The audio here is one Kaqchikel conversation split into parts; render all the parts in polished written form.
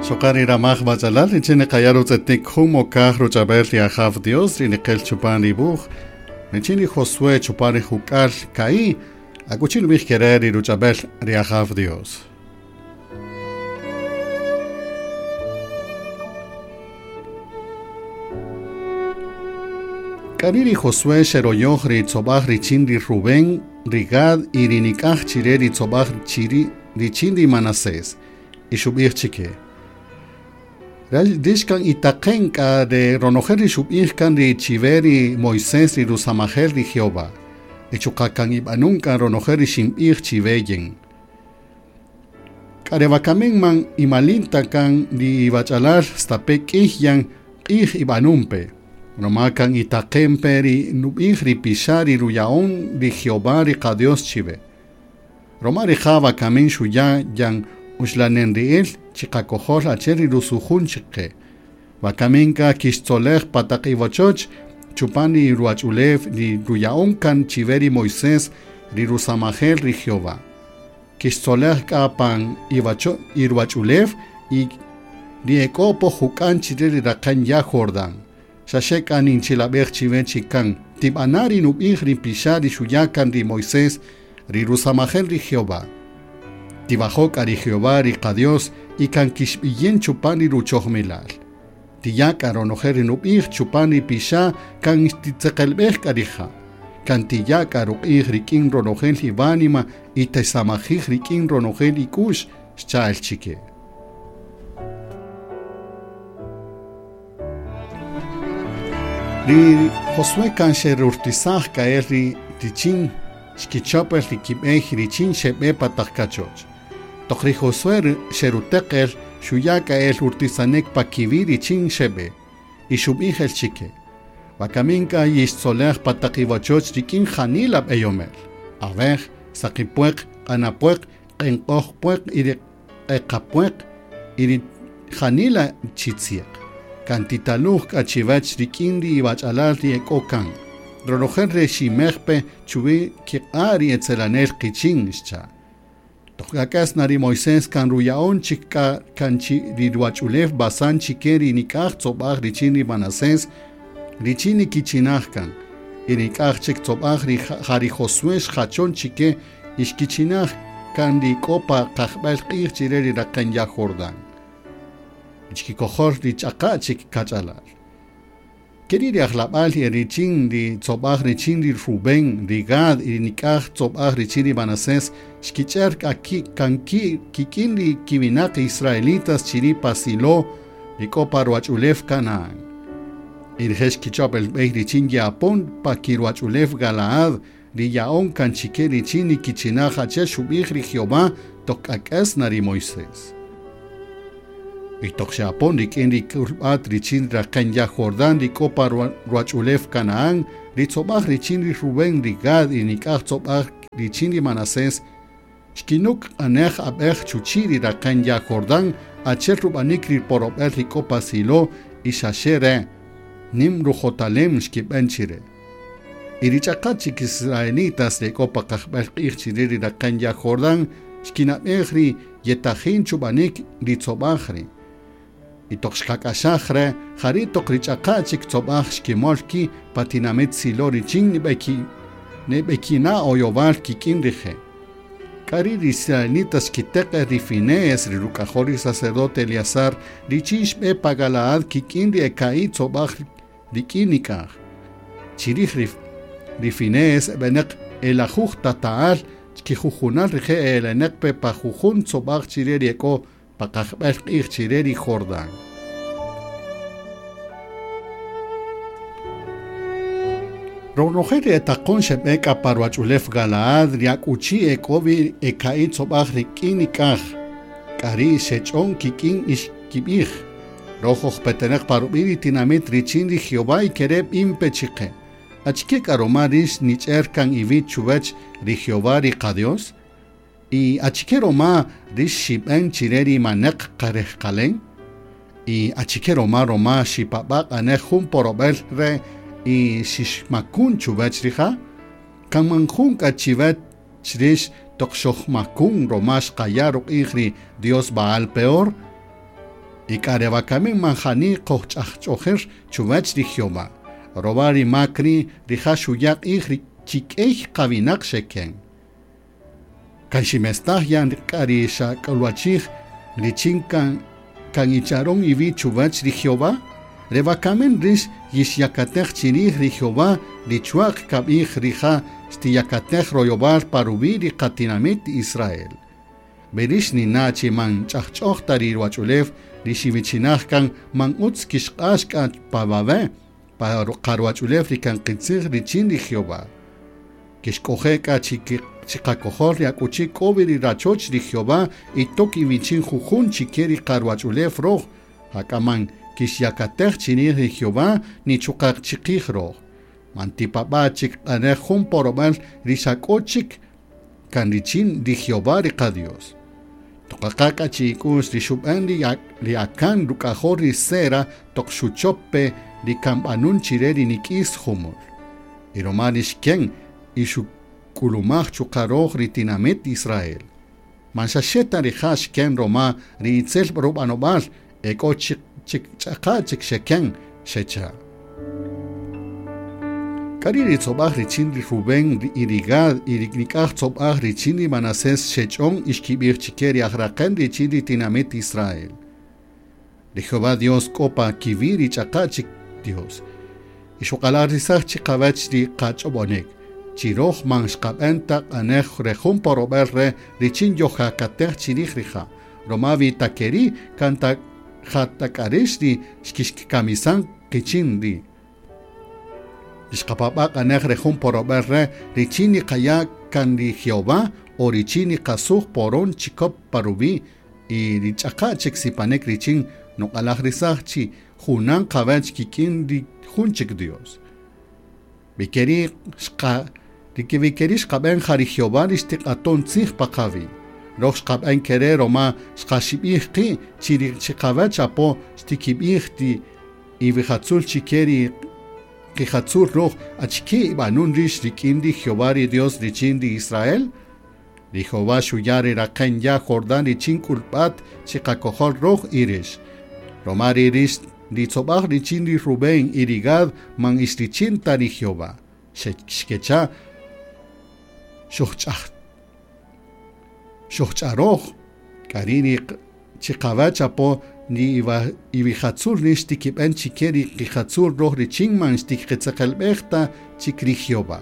Xoqan ri ramaj bachalal richin niqaya' rutz'etik jun mokaj ruch'ab'el ri Ajaw Dios ri niqel chupan ri wuj richin ri Josué chupan ri juk'al ka'i akuchi nub'ij kere' ri ruch'ab'el ri Ajaw Dios. K'ari' ri Josué xeroyoj ri tzob'aj richin ri Rubén, ri Gad y ri nik'aj chire ri tzob'aj chiri richin ri Manasés y xub'ij chike. Rix kan itaqen k'a re ronojel ri xub'ij kan ri chiwe ri Moisés ri rusamajel ri Jehová. Y chuqa' kan ib'anun kan ronojel ri xinb'ij chiwe yin. K'a re wakamin man imalinta kan ri ibach'alal stape k'ij yan q'ij ib'anunpe. Roma kan itaqenpe ri nub'ij ri pixa' ri ruya'on ri Jehová ri qa-Dios chiwe. Roma rija' wakamin xuya' yan uxlanenri'il chiqakojol achi'el ri rusujun chiqe. Wakamin k'a kixtzolej pa taq iwachoch chupan ri ruwach'ulew ri ruya'on kan chiwe ri Moisés ri rusamajel ri Jehová. Kixtzolej k'a pan iruwach'ulew y ri ek'o po juk'an chire ri raqän ya' Jordán. Xaxe k'a ninchilab'ej chiwe chi kan tib'ana' ri nub'ij ri pixa' ri xuya' kan ri Moisés ri rusamajel ri Jehová. Tibajo' k'a ri Jehová ri qa-Dios y kan kixb'iyin chupan ri ruchojmilal. Tiya' k'a ronojel ri nub'ij chupan ri pixa' kan titzeqelb'ej k'a rija'. Kan tiya' k'a ruq'ij rik'in ronojel iwánima y tisamajij rik'in ronojel ik'u'x xcha'el chike. Ri Josué kan xerurtisaj k'a'el ri richin xkichop el ri kib'ey richin xeb'e pa taq kachoch. Toq ri Josué xeruteq el xuya' k'a'el urtisanik pa kiwi' richin xeb'e y xub'ij el chike. Wakamin k'a yixtzolej pa taq iwachoch rik'in janila b'eyomel. Awej, saqipueq, q'anapueq, q'enq'oj pueq y ri q'eqapueq y ri janila chitziaq. Kan titaluj k'a chiwach rik'in ri iwach'alal ri ek'o kan. Ronojel re ximejpe chuwi kiq'a' ri etzelanel qichin xcha'. Toq k'ak'as na ri Moisés kan ruya'on chik k'a kan chi ri ruwach'ulew Basán chike ri nik'aj tzob'aj richin ri Manasés richin nikichinaj kan. Y nik'aj chik tzob'aj ri ja ri Josué xjachon chike y xkichinaj kan ri k'o pa qajb'al q'ij chire ri raqän ya' Jordán. Chikikojol ri ch'aqa' chik kach'alal. Keri' ri ajlab'al y richin ri tzob'aj richin ri Rubén, ri Gad y ri nik'aj tzob'aj richin ri Manasés xkich'er k'a kan ki' kik'in ri kiwinaq israelitas chiri' pa Silo ri k'o pa ruwach'ulew Canaán. Y rije' xkichop el b'ey richin ye'apon pa kiruwach'ulew Galaad ri ya'on kan chike richin nikichinaj achi'el xub'ij ri Jehová toq k'ak'as na ri Moisés. Y toq xe'apon rik'in ri k'ulb'at richin raqän ya' Jordán ri k'o pa ruwach'ulew Canaán, ri tzob'aj richin ri Rubén, ri Gad y nik'aj tzob'aj richin ri Manasés xkinuk q'anej ab'ej chuchi' ri raqän ya' Jordán achi'el rub'anik ri porob'el ri k'o pa Silo y xaxe re' nim rujotalem xkib'en chire. Y ri ch'aqa' chik israelitas ri k'o pa qajb'al q'ij chire ri raqän ya' Jordán xkinab'ej ri yetajin chub'anik ri tzob'aj ri'. Y toq xqak'axaj re' jari' toq ri ch'aqa' chik tzob'aj xkimol ki' pa tinamit Silo richin nib'ekina' oyowal kik'in rije'. K'ari' ri israelitas xkiteq ri Finees ri ruk'ajol ri sacerdote Eleazar richin xb'e pa Galaad kik'in ri eka'i' tzob'aj rik'in nik'aj. Chirij ri Finees b'enaq elajuj tata'al chkijujunal rije' eleneq pe pa jujun tzob'aj chire ri ek'o pa qajb'al q'ij chire ri Jordán. Ronojel ri etaqon xeb'e k'a pa ruwach'ulew Galaad ri ak'uchi ek'o wi eka'i' tzob'aj rik'in nik'aj. K'ari' xech'on kik'in y xkib'ij. Roj ojpetenaq pa rub'i' ri tinamit richin ri Jehová y kere' b'inpe chiqe. Achike k'a roma rix nich'er kan iwi' chuwach ri Jehová ri qa-Dios? Y achike roma rix xib'en chire ri maneq qarejqalen? Y achike roma roma xipab'a' q'anej jun porob'el re y xixmakun chuwach rija'? Kan man jun k'a chiwach rix toq xojmakun roma xqaya' ruq'ij ri Dios Baal Peor? Y k'a re wakami man jani qojch'ajch'ojir chuwäch ri Jehová. Roma ri mak ri' rija' xuya' q'ij ri chik'ey qawinaq xeken. Kan ximestaj yan k'a ri xak'ulwachij richin kan icharon iwi' chuwäch ri Jehová. Re wakamin rix yixyakatej chirij ri Jehová ri chuaq kab'ij rija' xtiyakatej royowal pa ruwi' ri qatinamit Israel. Berix nina chi man ch'ajch'oj ta ri ruwach'ulew ri xiwichinaj kan man utz kixq'ax k'a pa wawe' pa qaruwach'ulew ri kan qitzij richin ri Jehová. Kixk'oje' k'a chiqakojol ri akuchi k'o wi ri rachoch ri Jehová y tok iwichin jujun chike ri qaruwach'ulew roj, jak'a man kixyakatej chirij ri Jehová ni chuqa' chiqij roj. Man tipab'a' chik q'anej jun porob'al ri xa k'o chik kan richin ri Jehová ri qa-Dios. Toqaqa k'a chi'ik'u'x ri xub'an ri Acán ruk'ajol ri Zera toq xuchop-pe ri kan b'anun chire ri nik'is jumul. Y roma ri xken y xuk'ulumaj chuqa' roj ri tinamit Israel. Man xa xe ta rija' xken roma ri itzel rub'anob'al e k'o ch'aqa' chik xeken xecha'. K'ari' ri tzob'aj richin ri Rubén y ri Gad y ri nik'aj tzob'aj richin ri Manasés xech'on y xkib'ij chike ri ajraqen richin ri tinamit Israel. Ri Jehová Dios k'o pa kiwi' ri ch'aqa' chik Dios. Y xuq'alajrisaj chiqawach ri qach'ob'onik. Chiroj man xqab'an ta q'anej re jun porob'al re richin yojakatej chirij rija'. Roma wi ta keri' kan ta jatak'arix ri xkixkamisan qichin ri. Xqapab'a' q'anej re jun porob'al re richin niqaya' kan ri Jehová o richin niqasuj poron chikop pa ruwi' y ri ch'aqa' chik sipanik richin nuq'alajrisaj chi junan qawach kik'in ri jun chik Dios. Vikeri xqab'en ja ri Jehová ri xtiq'aton tzij pa qawi'. Roj xqab'en kere roma xqaxib'ij qi' chi ri chiqawach apo xtikib'ij ti iwijatzul chike ri qijatzul roj achike ib'anun rix rik'in ri Jehová ri Dios richin ri Israel. Ri Jehová xuya' ri raqen ya' Jordán richin k'ulb'at chiqakojol roj y rix. Roma ri rix ri tzob'aj richin ri Rubén y ri Gad man ix richin ta ri Jehová. Xkecha xojch'aroj k'ari' ri chiqawach apo ni iwijatzul rix tikib'an chike ri qijatzul roj richin man xtiqitzeqelb'ej ta chik ri Jehová.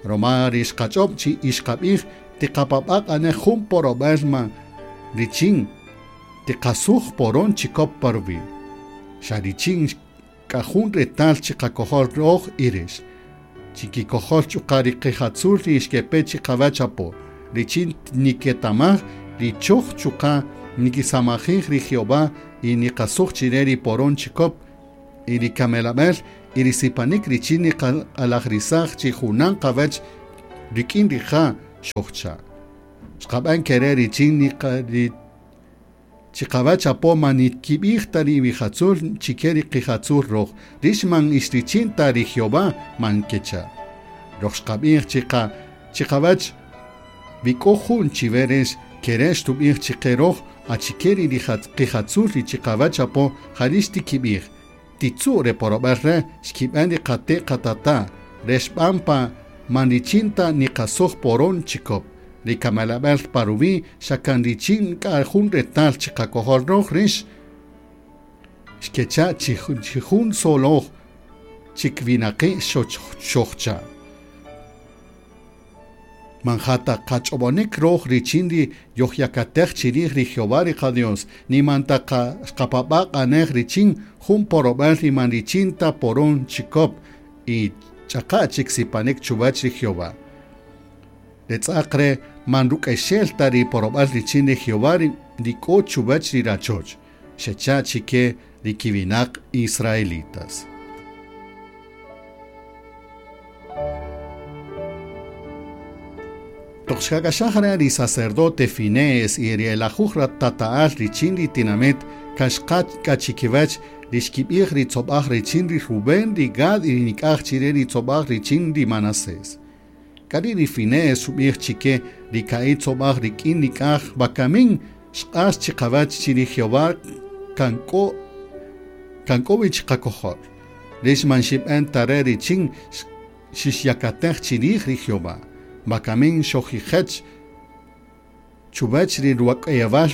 Roma ri xqach'ob' chi ixqab'ij tiqapab'a' q'anej jun porob'al man richin tiqasuj poron chikop pa ruwi'. Xa richin k'a jun retal chiqakojol roj y rix. Chikikojol chuqa' ri qijatzul ri xkepe chiqawach apo. Richin niketamaj ri choj chuqa' nikisamajij ri Jehová y niqasuj chire ri poron chikop y ri kamelab'el y ri sipanik richin niq'alajrisaj chi junan qawach rik'in rija' xojcha'. Xqab'an kere richin ri chiqawach apo man nikib'ij ta ri iwijatzul chike ri qijatzul roj. Rix man ix richin ta ri Jehová man kecha'. Roj xqab'ij chiqawach wi k'o jun chiwe rix kere xtub'ij chike roj achike ri qijatzul ri chiqawach apo jarix tikib'ij. Titzu' re porob'al re xkib'an ri qate' qatata' re xb'an pa man richin ta niqasuj poron chikop. Ri kamelab'al pa ruwi' xa kan richin k'a jun retal chiqakojol roj rix xkecha' chi jun soloj chik winaqi' xojcha'. Man jata qach'ob'onik roj richin ri yojyakatej chirij ri Jehová ri qa-Dios, ni man ta xqapab'a' q'anej richin jun porob'al ri man richin ta poron chikop y ch'aqa' chik sipanik chuwach ri Jehová. Re tz'aq re man ruk'exel ta ri porob'al richin ri Jehová ri k'o chuwach ri rachoch, xecha' chike ri kiwinaq israelitas. Toq xkak'axaj ri sacerdote Finees y ri elajuj tata'al richin ri tinamit kan xqa' k'a chikiwach ri xkib'ij ri tzob'aj richin ri Rubén, ri Gad y ri nik'aj chire ri tzob'aj richin ri Manasés. K'ari' ri Finees xub'ij chike ri ka'i' tzob'aj rik'in nik'aj wakamin xq'ax chiqawach chi ri Jehová kan k'o kan k'o wi chiqakojol. Rix man xib'en ta re richin xixyakatej chirij ri Jehová. Wakamin xojijech chuwäch ri ruwak'ayewal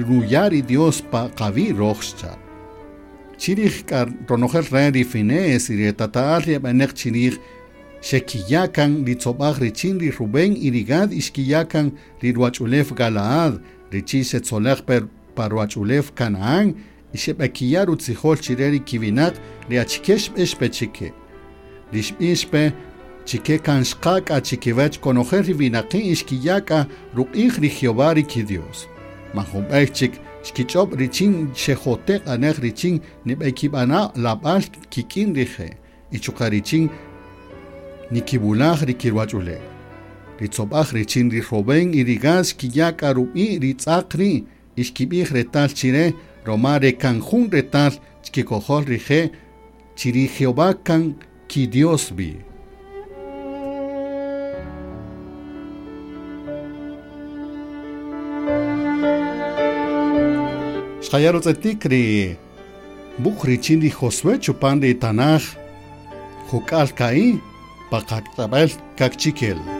ruya' ri Dios pa qawi' röj xcha'. Chirij k'a ronojel re' ri Finees y ri tata'al ri eb'aneq chirij xekiya' kan ri tzob'aj richin ri Rubén y ri Gad y xkiya' kan ri ruwach'ulew Galaad richin xetzolej pe pa ruwach'ulew Canaán y xeb'ekiya' rutzijol chire ri kiwinaq ri achike xb'ix pe chike. Ri xb'ix pe chike kan xqa k'a chikiwäch konojel ri winaqi' y xkiya' k'a ruq'ij ri Jehová ri ki-Dios. Man jun b'ey chik xkich'ob' richin xejote' q'anej richin nib'ekib'ana' lab'al kik'in rije' y chuqa' richin nikiwulaj ri kiruwach'ulew. Ri tzob'aj richin ri Rubén y ri Gad xkiya' k'a rub'i' ri tz'aq ri' y xkib'ij retal chire roma re kan jun retal chkikojol rije' chi ri Jehová kan ki-Dios wi. Xqaya' rutz'etik ri wuj richin ri Josué chupan ri tanaj juk'al ka'i' pa qak'tab'al kakchikel.